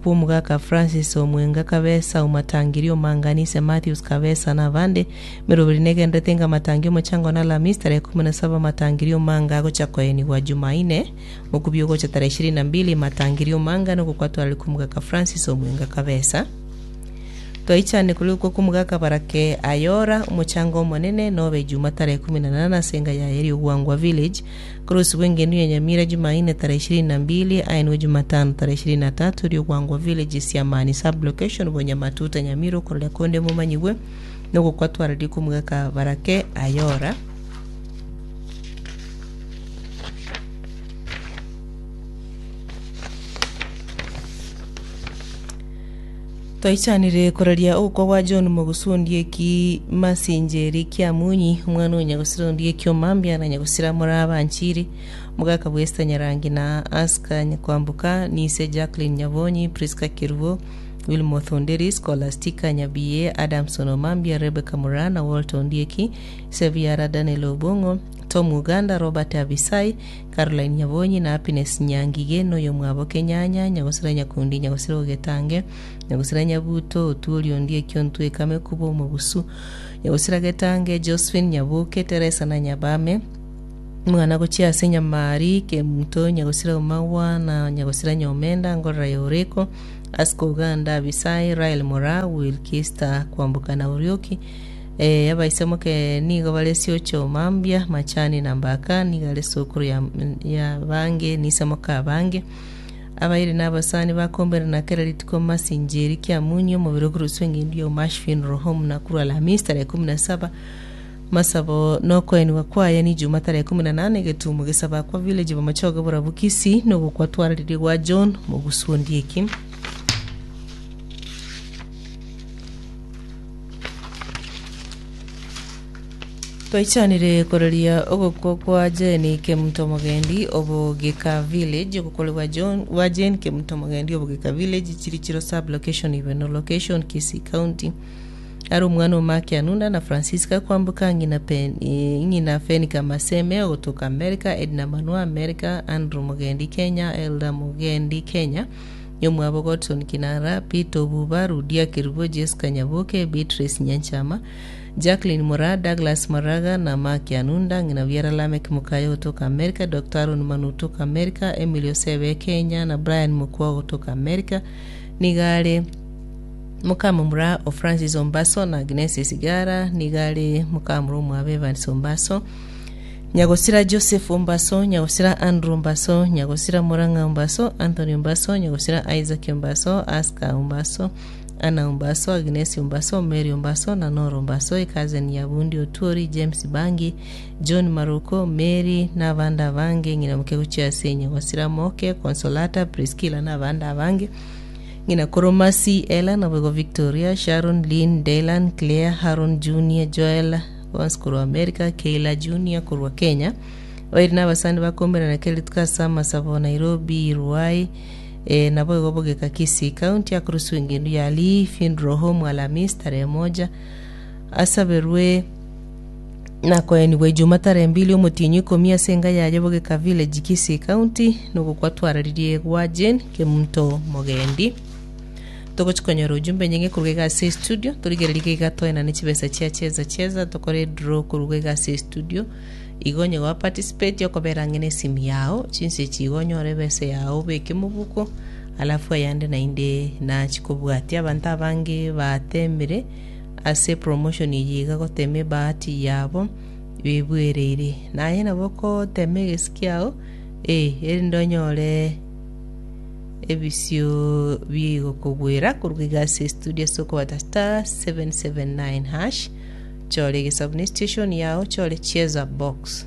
Bw'omogaka Francis Omwenga Kabesa, Omatangiri Omanganise Matthews Kabesa na abande. Emeroberi negenderete enga amatangi omochango na Alhamisi tarehe kumi na saba Matangiri Omanga agocha koenigwa Jumaine mokubia ogocha tarehe ishirini na mbili Matangiri Omanga nogokwatwarari kw'omogaka Francis Omwenga Kabesa. Twaichane korikwa kw'omogaka Barake Ayora omochango omonene nobe Ijuma tarehe kumi na nane ase enga yaye Riogwangwa Village Korosibwa engendu ya Nyamira Jumaine tarehe ishirini na mbili, aenwe Jumatano tarehe ishirini na tatu Riogwangwa Village Siamani Sub-location Bonyamatuta Nyamira okororia konde momanyigwe nogokwa twararia kw'omogaka Barake Ayora. Twaichanire koraria ogokwa gwa John Mogusu Ondieki Masinjeri Kiamunyi, omwana o Nyagusira Ondieki Omambia na Nyagusira Morabanchiri, omogaka bwa Esther Nyarangi na Aska Nyakwamboka, Nise Jacqueline Nyabonyi, Prisca Kerubo, Wilmoth Onderi, Scholastica Nyabiye, Adamson Omambia, Rebecca Moraa na Walter Ondieki, Sebiara Daniel Obong'o, Tom Uganda, Robert Abisai, Caroline Nyabonyi na Happiness Nyangige noyomwabo Kenyanya, Nyagosira Nyakundi, Nyagosira Ogetange, Nyagosira Nyabuto, Otuori Ondieki Ontwekame Kuba Omogusu, Nyagosira Getange, Josephine Nyaboke, Teresa na Nyabame, Omwana gochia ase Nyamari, Kemunto, Nyagosira Omagwa na Nyagosira Nyomenda, Ngorora ya Oreko, Asko Uganda, Abisai, Rael Moraa, Wilkista Kwamboka na Orioki, Ee, abaisemoke nigo bare siocho mambia, machani na mbaka, nigo are sokoro ya, ya bange nisemoka abange. Abairi na abasani bakomberana kera rituko masincheri kiamunyi omobere okoroswa engendu ya Umash Funeral Home Nakuru Alhamisi tarehe 17 masabo nokoenigwa kwaye ni Juma tarehe 18 egetumo gesabakwa village Bomachoge Borabu Kisii nogokwa twararirie gwa John Mogusu Ondieki. Twaichanire koraria ogokwa kwa Jane Kemunto Mogendi Obogeka Village ogokore gwa John gwa Jane Kemunto Mogendi Obogeka Village Chirichiro Sub Location Ibeno Location Kisii County are omwana o Mark Anunda na Francisca Kwamboka ng'ina Pen eh, ng'ina Fenica Maseme ogotoka America Edna Manua America Andrew Mogendi Kenya Elda Mogendi Kenya Nyomwabo Godson Kinara, Peter Obuba, Rudia Kerubo, Jesca Nyaboke, Beatrice Nyanchama, Jacqueline Moraa, Douglas Maraga na Mark Anunda, ng'ina biara Lameck Mukaya ogotoka America, Doctor Aaron Manu otoka America, Emily Osebe Kenya na Brian Mokua ogotoka America, nigo are mokamomura o Francis Ombaso na Agnes Esigara, nigo are mokamura omwabo Evans Ombaso. Nyagosira Joseph Ombaso, Nyagosira Andrew Ombaso, Nyagosira Murang'a Ombaso, Anthony Ombaso, Nyagosira Isaac Ombaso, Aska Ombaso, Anna Ombaso, Agnes Ombaso, Mary Ombaso, na Nora Ombaso, ecousin ya Bundi Otuori, James Bangi, John Maruko, Mary, na abande abange, ng'ina moke gochia ase Nyagosira Moke, Consolata, Priscilla, na abande abange. Ng'ina koro Mercy, Ella, naboigo Victoria, Sharon, Lynn, Dylan, Claire, Haron Junior, Joel, bonsi korwa America, Keila Junior korwa Kenya. Bairi na abasani bakomerana kera rituko ase amasabo Nairobi, Ruai, eh, naboigo bogeka Kisii County akoroswa engendu ya Lee Funeral Home Alhamisi tarehe moja asaberwe na koenigwa Ijuma tarehe mbili omotienyi ikomi ase enka yaye Bogeka Village Kisii County nogokwa twararirie gwa Jane Kemunto Mogendi. Togochi konyora ujumbe nyinge koruga iga ase estudio torigererie iga toenane chibesa chia cheza cheza tokore edraw koruga iga ase estudio igo onye gwa participate okobera ang'e na esimu yao chinsa echi igo onyore ebesa yao obeke mobuko alafu ayande naende nachi kobwatia abanto abange batemire Ase promotion eye iga gotema ebahati yabo bebwereire. Naye nabo okotema egesi kiao eh, erinde onyore ebisio bigokogwera korwa iga ase estudio ase okobata *779# chore egesabu ne station yao chore cheza box.